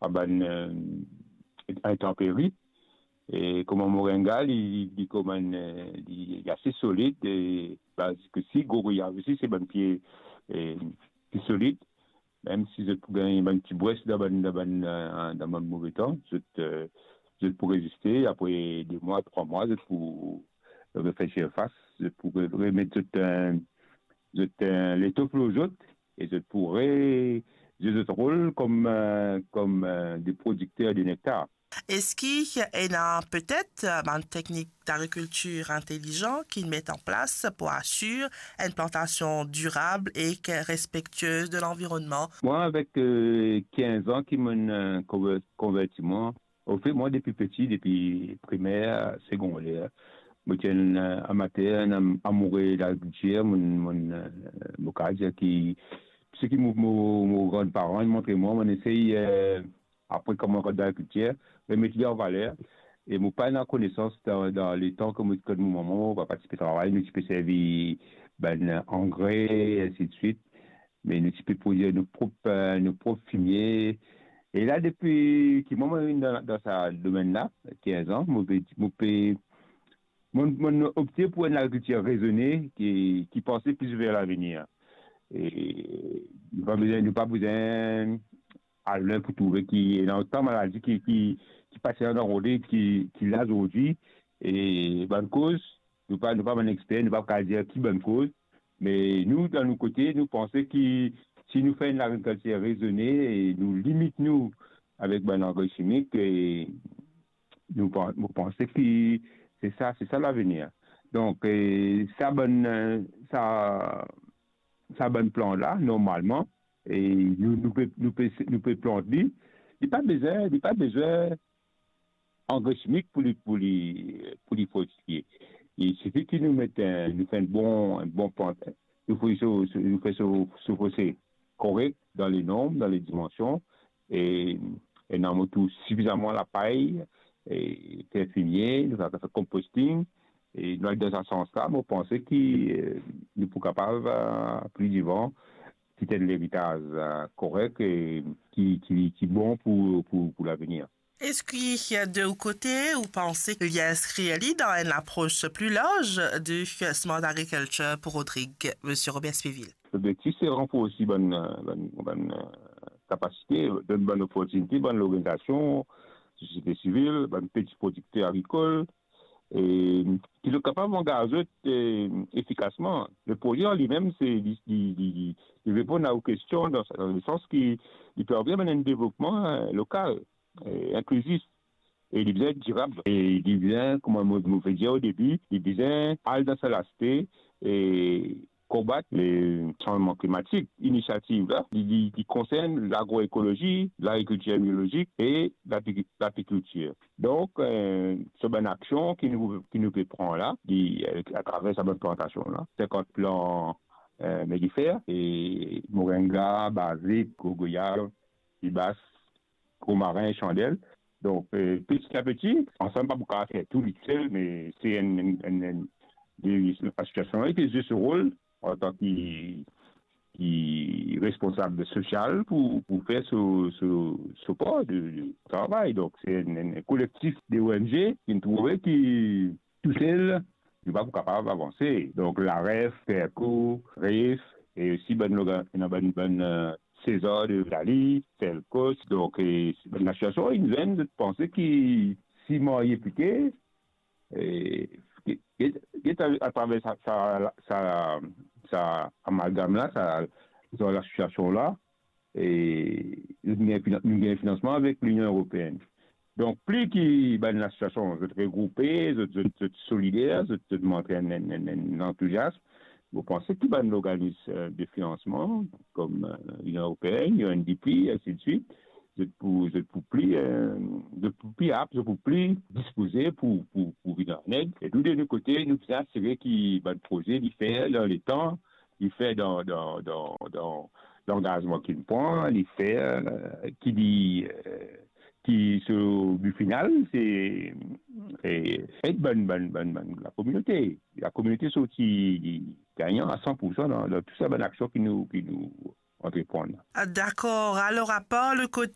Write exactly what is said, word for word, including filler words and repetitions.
a bann, eh, intanperi. E kouma moringa, li, li, li kouma enn, eh, li, li ase solid, e baz osi, gogoyav osi, se bann pie, eh, ki solid. Mem si zot pou gagn bann ti bwes dan bann, dan bann, eh, dan bann move tan, zot, eh, zot pou reziste. Apre de mwa, trwa mwa, zot pou refer sirfas, zot pou re-, remet zot, eh, zot, eh, letof lor zot, e zot pou re-, zwe zot rol kom, eh, kom, eh, de prodikter de nektar. Eski ena petet, eh, bann teknik dagrikiltir intelizan ki met an plas pou asir enn plantasion dirab ek respektiez de lanvironnman? Mwa, avek, eh, kinz an ki mo'nn, eh, konver-, konverti mwa, anfet, mwa, depi peti, depi primer, segonder, mo ti enn, eh, amater, enn am-, amoure lagrikiltir, mo'nn, mo'nn, eh, mo kapav dir ki seki mo, mo, mo granparan inn montre mwa, mo'nn esey, eh, apre kouma mo rant dan lagrikiltir, remet li an valer. E mo pa ena konesans dan, dan letan ki mo, kot mo mama, mo papa ti pe travay, nou ti pe servi bann angre, ensidswit. Me nou ti pe prodwir nou prop, eh, nou prop fimie. E la, depi ki mwa mo vinn dan, dan sa domenn la, kinz an, mo pe, mo pe, mo, mo opte pou enn lagrikiltir rezone ki, ki panse plis ver lavenir. E nou pa bizin, nou pa bizin al lwin pou trouve ki ena otan maladi ki, ki, ki pase dan lamond ki, ki la zordi. E bann koz, nou pa, nou pa bann exper, nou pa kapav dir ki bann koz, me nou, dan nou kote, nou panse ki si nou fer enn lagrikiltir rezone e nou limit nou avek bann angre simik, e nou pan-, mo panse ki se sa, se sa lavenir. Donk, eh, sa bann, eh, sa, sa bann plant la, normalman, e nou, nou pe, nou pe, nou pe plant li, li pa bizin, li pa bizin angre simik pou li, pou li, pou li fortifie. Il sifi ki nou met, eh, nou fer enn bon, enn bon plant, nou fer so, so, nou fer so, so fose korek dan le nonb, dan le dimansion, e, e nou met tou sifizaman lapay, e fer fimie, nou kapav fer composting, e nou al dan sa sans la, mo panse ki, eh, nou pou kapav, eh, pli devan, kit enn leritaz, eh, korek e ki, ki, ki bon pou, pou, pou lavenir. Eski de ou kote, ou panse ki li inskrir li dan enn lapros pli larz de Smart Agriculture pou Rodrig, Misie Robert Spivil? Lobzektif se ranforsi bann, bann, bann, eh, kapasite, donn bann loportinite, bann lorganizasion, sosiete sivil, bann peti prodikter agrikol, e ki zot kapav angaz zot, eh, efikasman. Le proze an limem, se li, li, li, li, li reponn a ou kestion dan, dan lesans ki li permet enn devlopman, eh, lokal, eh, inklizif, e li bizin dirab. E li bizin, kouma mo, mo pe dir o debi, li bizin al dan sa laspe, e konbat le sanzman klimatik. Inisiativ la, li, li, li konsern lagroekolozi, lagrikiltir biolozik e lapi-, lapikiltir. Donk, eh, so bann aksion ki nou, ki nou pe pran la, li, eh, atraver sa bann plantasion la, sinkant plan, eh, meliffer, e moringa, bazik, gogoyav, pibas, romarin, sandel. Donk, eh, peti a peti, ansam pa pou kapav fer tou li sel, me se enn, enn, enn, enn, de asosiasion ki zwe so rol antan ki, ki responsab sosial pou, pou fer so, so, so par de, de travay. Donk, se enn, enn kolektif de O N G ki trouve ki tousel, nou pa pou kapav avanse. Donk, laref, Perco, Ref, e osi bann lorga-, ena bann, bann, eh, César de Italie, Selcos. Donk, e, bann asosiasion, inn zwenn, zot panse ki si marye pike, e, ki, ki, ki atraver sa, sa, sa, sa amalgam la, sa, sa lasosiasion la, e nou gagn finan-, nou gagn finansman avek Linion Eropeenn. Donk, pli ki bann lasosiasion, zot regroupe, zot, zot, zot solider, zot, zot montre enn, enn, enn, enn antouziasm, mo panse ki bann lorganis, eh, de finansman, kom, eh, Linion Eropeenn, U N D P, ainsi de suite, zot pou, zot pou pli, eh, zot pou pli ap, zot pou pli dispoze pou, pou, pou vinn an ed. E nou, de nou kote, nou bizin asire ki bann proze, li fer dan letan, li fer dan, dan, dan, dan langazman ki li pran, li fer, eh, ki li, eh, ki so bi final, se, eh, ed bann, bann, bann, bann lakominote. Lakominote sorti gagnan a san pou san dan, dan tou sa bann aksion ki nou, ki nou antreprann. Ah, dakor. Alor, apar le kote